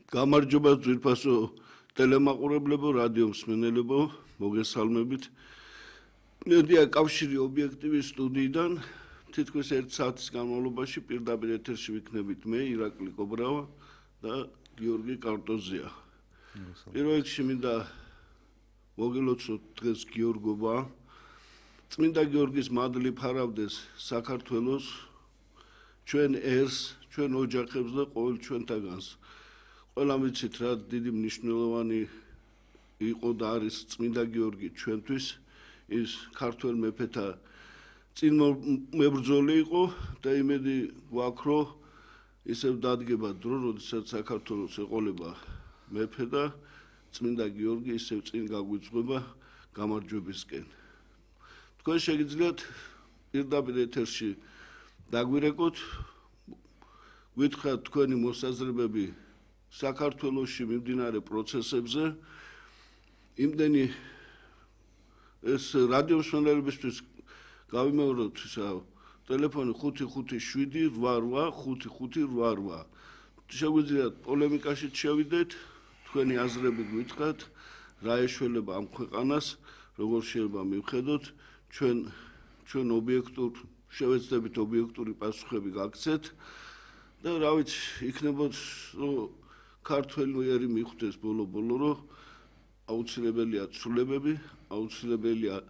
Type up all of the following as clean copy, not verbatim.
გამარჯობა ძვირფასო ტელემაყურებლებო, რადიო მსმენელებო, მოგესალმებით. მედია კავშირი ობიექტივის სტუდიიდან თითქმის 1 საათის განმავლობაში პირდაპირ ეთერში ვიქნებით მე, ირაკლი კობრავა და გიორგი კარტოზია. პირველ რიგში მინდა მოგილოცოთ დღეს გიორგობა. წმინდა გიორგის მადლი ფარავდეს საქართველოს, ჩვენ ერს, ჩვენ ოჯახებს და ყოველ ჩვენთაგანს. ყველა ვიცით რა დიდი მნიშვნელოვანი იყო და არის წმინდა გიორგი ჩვენთვის, ის ქართველ მეფეთა წინმებრძოლი იყო და იმედი გვაქვს, რომ ისევ დადგება დრო, როდესაც საქართველოს ეყოლება მეფე და წმინდა გიორგი ისევ წინ გაგვიძღვება გამარჯვებისკენ. თქვენ შეგიძლიათ პირდაპირ ეთერში დაგვირეკოთ, გითხრათ თქვენი მოსაზრებები საქართველოში მიმდინარე პროცესებზე. იმდენი ეს რადიო მსმენელებისთვის გავიმეოროთ ტელეფონი 557-88-558. შეგვიძლიათ პოლემიკაში შევიდეთ, თქვენი აზრები გითხრათ, რა ეშველება ამ ქვეყანას, როგორ შეიძლება მივხედოთ, ჩვენ ობიექტურ შევეცდებით ობიექტური პასუხები გაგცეთ და რა ვიცი, იქნებოდ ქართველი მიხვდეს ბოლო-ბოლო, რომ აუცილებელია ცვლილებები, აუცილებელია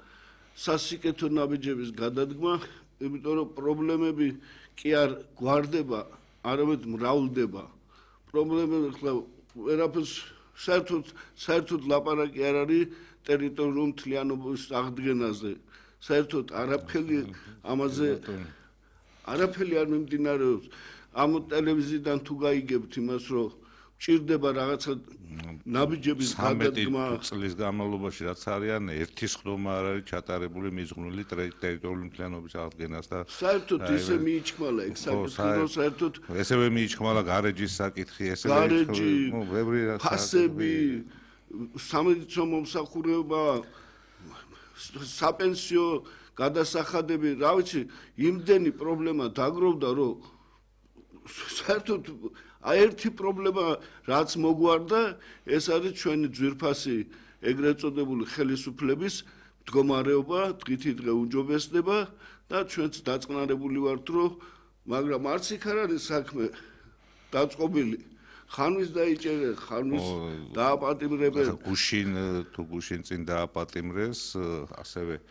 სასიკეთო ნაბიჯების გადადგმა, იმიტომ რომ პრობლემები კი არ გვარდება, არამედ მრავლდება. პრობლემები ხლა ვერაფერს საერთოდ ლაპარაკი არ არის ტერიტორიულ მთლიანობის აღდგენაზე. საერთოდ არაფერი ამაზე არაფერი არ მიმდინარეობს. ამ ტელევიზიიდან თუ გაიგებთ იმას, რომ ჭირდება რაღაცა ნაბიჯების გადადგმა, წლის განმავლობაში რაც არიან, ერთი სხდომა არ არის ჩატარებული მიზღვნილი ტერიტორიული მთლიანობის აღდგენას და საერთოდ ისე მიიჩქმალა ეგ საკითხი, რომ საერთოდ ესევე მიიჩქმალა გარეჯის საკითხი, ესევე გარეჯი, ბევრი ფასები, სამედიცინო მომსახურება, საპენსიო გადასახადები, რა ვიცი, იმდენი პრობლემა დაგროვდა, რომ საერთოდ ერთი პრობლემა რაც მოგვარდა, ეს არის ჩვენი ძვირფასი ეგრეთ წოდებული ხელისუფლების მდგომარეობა, დღითი დღე უჯობესდება და ჩვენც დაწყნარებული ვართ, რომ მაგრამ არც იქ არ არის საქმე დაწყობილი. ხანვის დაიჭერეს, ხანვის დააპატიმრებენ. გუშინ წინ დააპატიმრეს, ასევე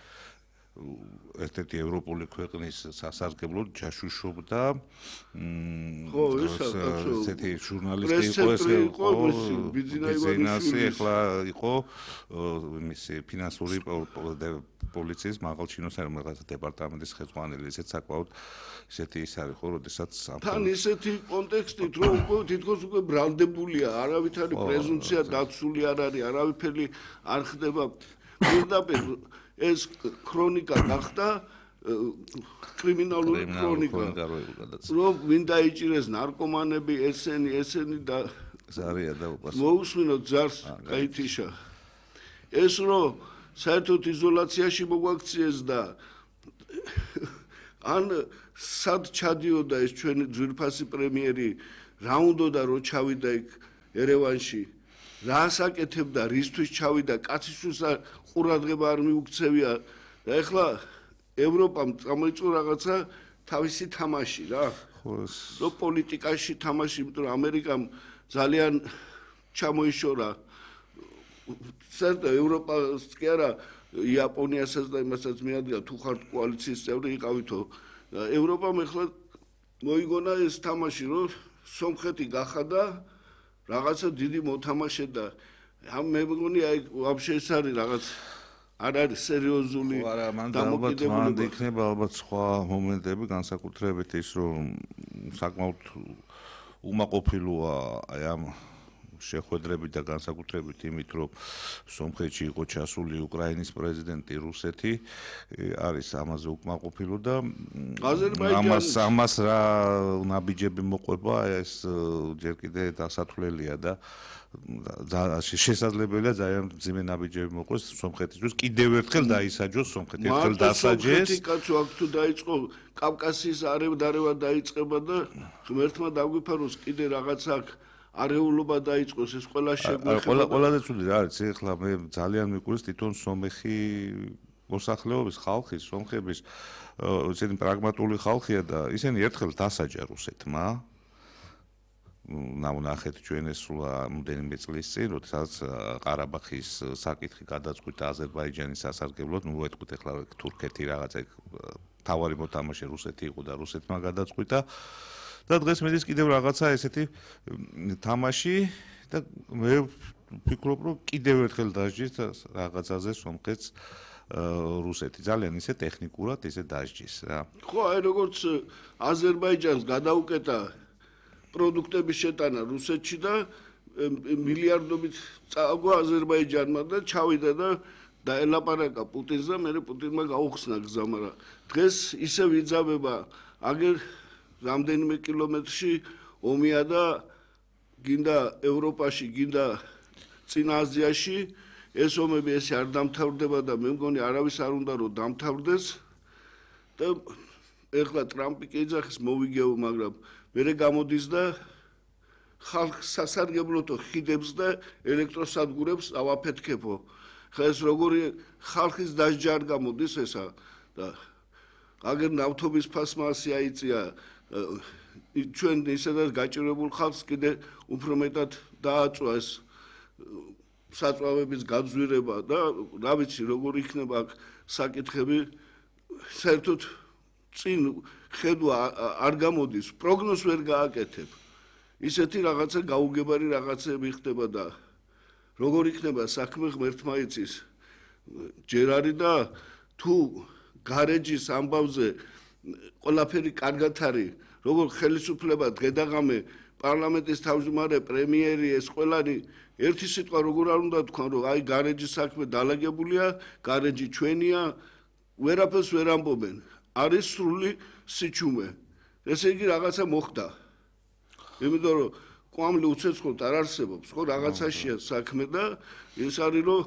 ერთ-ერთი ევროპული ქვეყნის სასარგებლოდ ჩაშუშობდა ესეთი ჟურნალისტი იყო ბიზნესი, ახლა იყო მისი ფინანსური პოლიციის მაღალჩინოს რაღაც დეპარტამენტის ხელმძღვანელი, ესეც საკმაოდ ისეთი ის არის ხო, როდესაც თან ისეთი კონტექსტით, რომ თითქოს უკვე ბრალდებულია, არავითარი პრეზუმცია დაცული არ არის, არავითარი არ ხდება. პირდაპირ ეს ქრონიკა გახდა კრიმინალური ქრონიკა, რომ ვინ დაიჭირეს ნარკომანები, ესენი და ზარია და მოусმინოთ ზარს გაითიშა. ეს რომ საერთოდ იზოლაციაში მოგვაქციეს და ან სად ჩადიოდა ეს ჩვენი ძვირფასი პრემიერი, რა უნდოდა რომ ჩავიდა იქ ერევანში, რა საკეთებდა, რისთვის ჩავიდა, კაცისთვის ყურადღება არ მიუქცევია და ეხლა ევროპამ წამოიწყო რაღაცა თავისი თამაში რა. რო პოლიტიკაში თამაში, იმიტომ რომ ამერიკამ ძალიან ჩამოიშორა საერთოდ ევროპას კი არა, იაპონიასაც და იმასაც მიადგა, თუ ხართ კოალიციის წევრი იყავითო. ევროპამ ეხლა მოიგონა ეს თამაში, რომ სომხეთი გახადა რაღაცა დიდი მოთამაშე და მე მგონი აი ვაფშე ეს არის რაღაც არ არის სერიოზული დამოკიდებულება. იქნება ალბათ სხვა მომენტები, განსაკუთრებით ის, რომ საკმაოდ უმაყოფილოა აი ამ შეხვედრებით და განსაკუთრებით იმით, რომ სომხეთში იყო ჩასული უკრაინის პრეზიდენტი, რუსეთი არის ამაზე უკმაყოფილო და ამას რა ნაბიჯები მოყვება, ეს ჯერ კიდე დასათვლელია და შესაძლებელია ძალიან მძიმე ნაბიჯები მოყვეს სომხეთისთვის. კიდევ ერთხელ დაისაჯოს სომხეთი, ერთხელ დასაჯეს. სომხეთი კაცო აქ თუ დაიწყო კავკასიის არევ-დარევა დაიწყება და ღმერთმა დაგვიფაროს კიდე რაღაც აქ არეულობა დაიწყოს ეს ყველა შეგვეხება. ყველაზე ცუდი რა არის, ეხლა მე ძალიან მიყურს თვითონ სომეხი მოსახლეობის ხალხის, სომხების ესეთი პრაგმატული ხალხია და ისინი ერთხელ დასაჯა რუსეთმა. ნახეთ ჩვენ ეს სულ რამდენიმე წლის წინ, როდესაც ყარაბაღის საკითხი გადაწყვიტა აზერბაიჯანის სასარგებლოდ, ვეთქვით ეხლა თურქეთი რაღაცა თავარი მოთამაშე რუსეთი იყო და რუსეთმა გადაწყვიტა. და დღეს მედის კიდევ რაღაცა ესეთი თამაში და მე ვფიქრობ, რომ კიდევ ერთხელ დასჯის რაღაცაზე სომხეთს რუსეთი ძალიან ისე ტექნიკურად ისე დასჯის რა. ხო, აი როგორც აზერბაიჯანს გადაუკეტა პროდუქტების შეტანა რუსეთში და მილიარდობით წააგო აზერბაიჯანმა და ჩავიდა და დაელაპარაკა პუტინს და მე პუტინმა გაუხსნა გზა, მაგრამ დღეს ისევ იძაბება აგერ რამდენიმე კილომეტრში ომია და გინდა ევროპაში, გინდა წინა აზიაში ეს ომები ესე არ დამთავრდება და მე მგონი არავის არ უნდა რომ დამთავრდეს და ეხლა ტრამპი კი ეძახის მოვიგეო, მაგრამ მერე გამოდის და ხალხს სასარგებლოთო ხიდებს და ელექტროსადგურებს ავაფეთქებო. ხა ეს როგორი ხალხის დასჯა არ გამოდის ესა და აგერ ნავთობის ფასმა ასე აიწია ჩვენ ისედაც გაჭირებულ ხალხს კიდე უფრო მეტად დააწვა ეს საწვავების გაძვირება და რა ვიცი როგორ იქნება საკითხები საერთოდ წინ ხედვა არ გამოდის პროგნოზს ვერ გააკეთებ ისეთი რაღაცა გაუგებარი რაღაცები ხდება და როგორ იქნება საქმე ღმერთმა იცის ჯერ არის და თუ გარეჯის ამბავზე ყველაფერი კარგად არის როგორ ხელისუფლება დღედაღამე პარლამენტის თავმჯდომარე პრემიერი ეს ყველანი ერთი სიტყვა როგორ არ უნდა თქვან რომ აი გარეჯის საქმე დალაგებულია გარეჯი ჩვენია ვერაფერს ვერ ამბობენ არის სრული სიჩუმე ესე იგი რაღაცა მოხდა იმიტომ რომ კვამლი უცეცხლოდ არ არსებობს ხო რაღაცაშია საქმე და ის არის რომ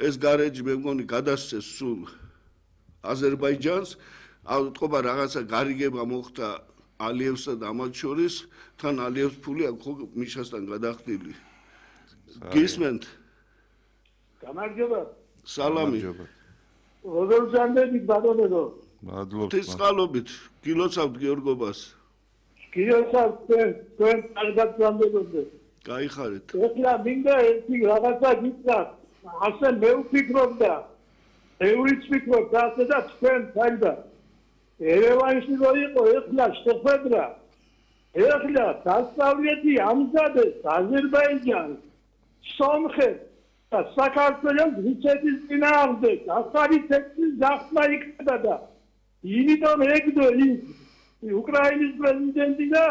ეს გარეჯი მე მგონი გადასცეს სულ აზერბაიჯანს ავტყობა რაღაცა გარიგება მოხდა ალიევსა და ამათ შორის თან ალიევს ფული აქ ხო მიშასთან გადახდილი გისმენთ გამარჯობა სალამი როგორ ზანდებით ბატონო მადლობა თესყალობით გილოცავთ გიორგობას გილოცავთ თქვენ კარგად ზანდებოდეთ გაიხარეთ ეხლა მინდა ერთი რაღაცა გითხრა ასე მე ვფიქრობ და ევრიც ვფიქრობ და ასე და თქვენ საერთოდ ერევანში რო იყო ეხლა შეხვედრა ეხლა დასავლეთი ამზადეს აზერბაიჯანს სომხეთს და საქართველოს რუსეთის წინააღმდეგ ახალი ტექსტის გახსნა იქნება და იმიტომ ეგდო ის უკრაინის პრეზიდენტი და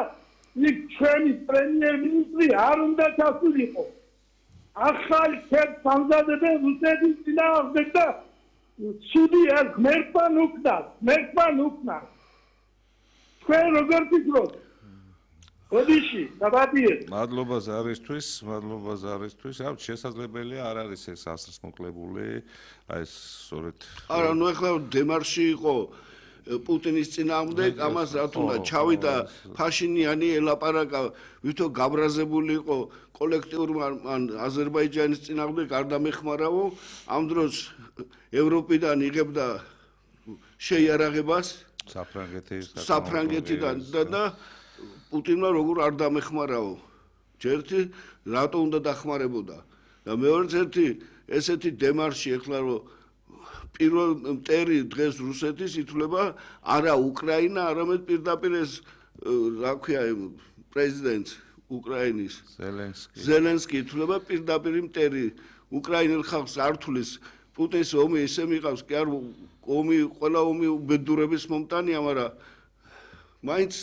იქ ჩვენი პრემიერ-მინისტრი არ უნდა ჩასულიყო ახალი ტექსტს ამზადებენ რუსეთის წინააღმდეგ და სუდი არ ღმერთთან უკნა თქვენ როგორ ფიქრობთ ოდიში დაბადიეთ მადლობა ზარისთვის ავ შესაძლებელია არ არის ეს ასრს მოკლებული აი ეს სწორედ არა ნუ ეხლა დემარში იყო პუტინის წინააღმდეგ ამას რა თქმა ჩავიდა ფაშინიანი ელაპარაკა ვითო გაბრაზებული იყო კოლექტიურმა აზერბაიჯანის წინააღმდეგ არ დამეხმარაო ამ დროს ევროპიდან იღებდა შეიარაღებას საფრანგეთიდან და პუტინმა როგორ არ დამეხმარაო ჯერთი რატო უნდა დახმარებოდა და მეორეც ერთი ესეთი დემარში ეხლა რომ პირველ მტერი დღეს რუსეთის ითვლება არა უკრაინა არამედ პირდაპირ ეს რა ქვია პრეზიდენტ უკრაინის ზელენსკი ითვლება პირდაპირ მტერი უკრაინელ ხალხს არ თulis პუტინს ომი ისე მიყავს კი არ ომი ყველა ომი უბედურების მომტანია მაგრამ მაინც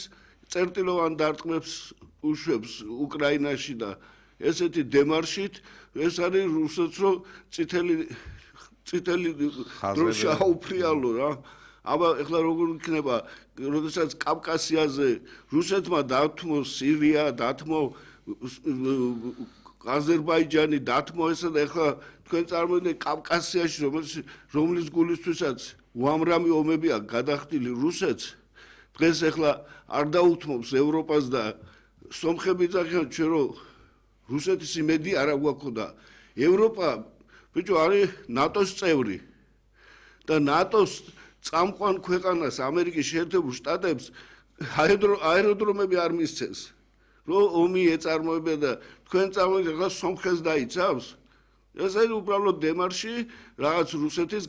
წერტილოვან დარტყმებს უშვებს უკრაინაში და ესეთი დემარშით ეს არის რუსეთს რომ წითელი დროში აუფრიალო რა აბა ეხლა როგორ იქნება როდესაც კავკასიაზე რუსეთმა დათმო სირია დათმო აზერბაიჯანი დათმო ესა და ეხლა თქვენ წარმოიდგინეთ კავკასიაში რომლის გულისთვისაც უამრავი ომებია გადახდილი რუსეთს დღეს ეხლა არ დაუთმობს ევროპას და სომხები ძახიან ჩვენ რომ რუსეთის იმედი არ აგვაქვს და ევროპა ბიჭო არის ნატოს წევრი და ნატოს წამყვან ქვეყანას ამერიკის შეერთებულ შტატებს აეროდრომები არ მისცეს რომ ომი ეწარმოება და თქვენ წამოიდეთ ახლა სომხეთს დაიცავს ეს არის უბრალოდ დემარში რაღაც რუსეთის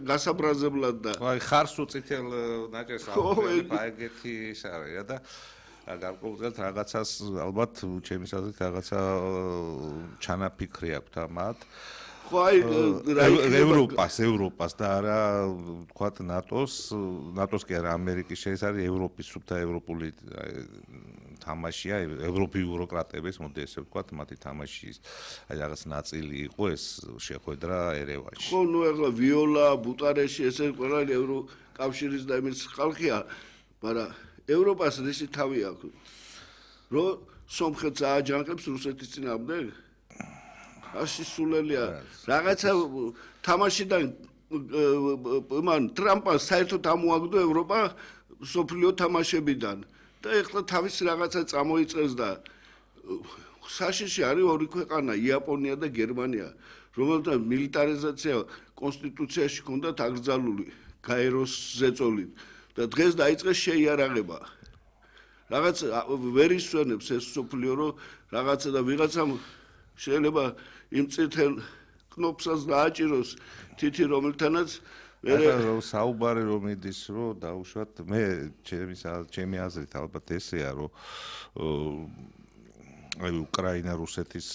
გასაბრაზებლად და აი ხარს უწითელ ნაჭერს აუხმება ეგეთი ის არის და გარკვეულწილად რაღაცას ალბათ ჩემი აზრით რაღაცა ჩანაფიქრი აქვს მათ ხო აი ევროპას და არა თქვათ ნატოს კი არა ამერიკის ეს არის ევროპის სუფთა ევროპული თამაშია ევროპი ბიუროკრატების მოდი ესე ვთქვათ მათი თამაშის აი რაღაც ნაწილი იყო ეს შეხვედრა ერევანში ხო ნუ ახლა ვიოლა ბუტარეში ესე ყველა ევროკავშირის და იმის ხალხია მაგრამ ევროპას რისი თავი აქვს რომ სომხეთს ააჯანყებს რუსეთის წინააღმდეგ ასე სულელია რაღაცა თამაშიდან მან ტრამპს საერთოდ ამოაგდო ევროპა სოფლიო თამაშებიდან და ეხლა თავის რაღაცა წამოიწყეს და საშიში არის ორი ქვეყანა იაპონია და გერმანია რომელთა მილიტარიზაცია კონსტიტუციაში ჰქონდათ აკრძალული გაეროს ზეწოლით და დღეს დაიწყეს შეიარაღება რაღაც ვერ ისვენებს ეს სოფლიო რომ რაღაცა და ვიღაცამ შეიძლება იმ წითელ კნოპსაც დააჭიროს თითი რომელთანაც ახლა საუბარი რომ მიდის რომ დაუშვათ მე ჩემი აზრით ალბათ ესეა რომ აი უკრაინა რუსეთის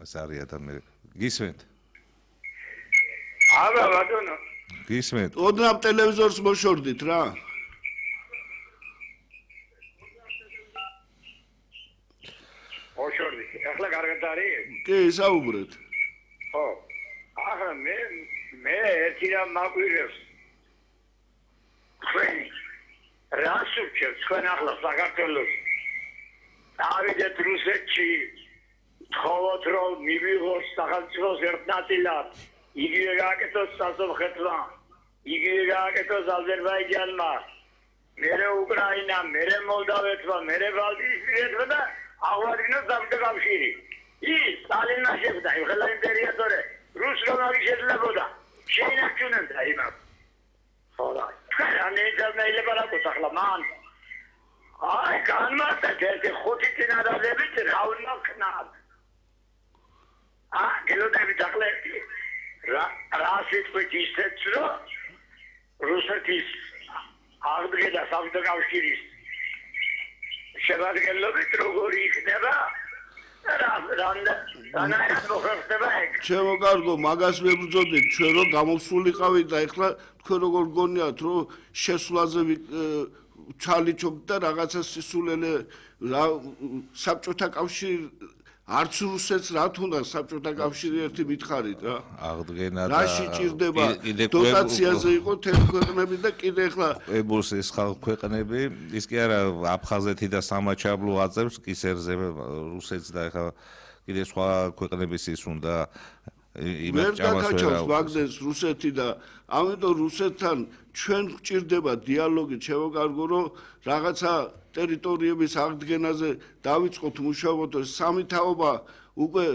ეს არის და მე გისმენთ არა ბატონო გისმენთ ოდნავ ტელევიზორს მოშორდით რა ოშორდი ახლა კარგად არის კი საუბრეთ ხო ახლა მე ერთი რამ მაგვირევს თქვენ რას უჩევთ თქვენ ახლა საქართველოს ავიდეთ რუსეთში თხოვოთ რომ მივიღოს სახელმწიფოს ერთ ნაწილად იგივე გააკეთოს სასომხეთმა იგივე გააკეთოს აზერბაიჯანმა მერე უკრაინა მერე მოლდავეთმა მერე ბალტიისპირეთმა და აღვადგინოს საბჭოთა კავშირი ის სტალინმა შეხვდა ეხლა იმპერიატორი რუსულმა აღიშეძლებოდა შეინარჩუნებდა იმას ხოდა თქვენ ეძებნაილება რა გქოს ახლა მან აი განმარტეთ ერთი ხუთი წინადადებით რა უნდა ქნათ გელოდებით ახლა რა სიტყვით ისეთ რომ რუსეთის აღდგენა საბჭოთა კავშირის შევადგენლობით როგორი იქნება ჩემო კარგო მაგას ვებრძოდით ჩვენ რომ გამოსულიყავით და ეხლა თქვენ როგორ გონიათ რომ შესვლაზე ჩალიჩობთ და რაღაცა სისულელე რა საბჭოთა კავშირი არც რუსეთს რა თუნდა საბჭოთა კავშირი ერთი მითხარით რა აღდგენა და რაში ჭირდება დოტაციაზე იყო თეთრ ქვეყნები და კიდე ეხლა ებოს ეს ხალხ ქვეყნები ის კი არა აფხაზეთი და სამაჩაბლო აწევს კისერზე რუსეთს და ეხლა კიდე სხვა ქვეყნების ის უნდა იმას ჩამოსვერა ვაგნეს რუსეთი და ამიტომ რუსეთთან ჩვენ გვჭირდება დიალოგი ჩემო კარგო რომ რაღაცა ტერიტორიების აღდგენაზე დავიწყოთ მუშაობოთ სამი თაობა უკვე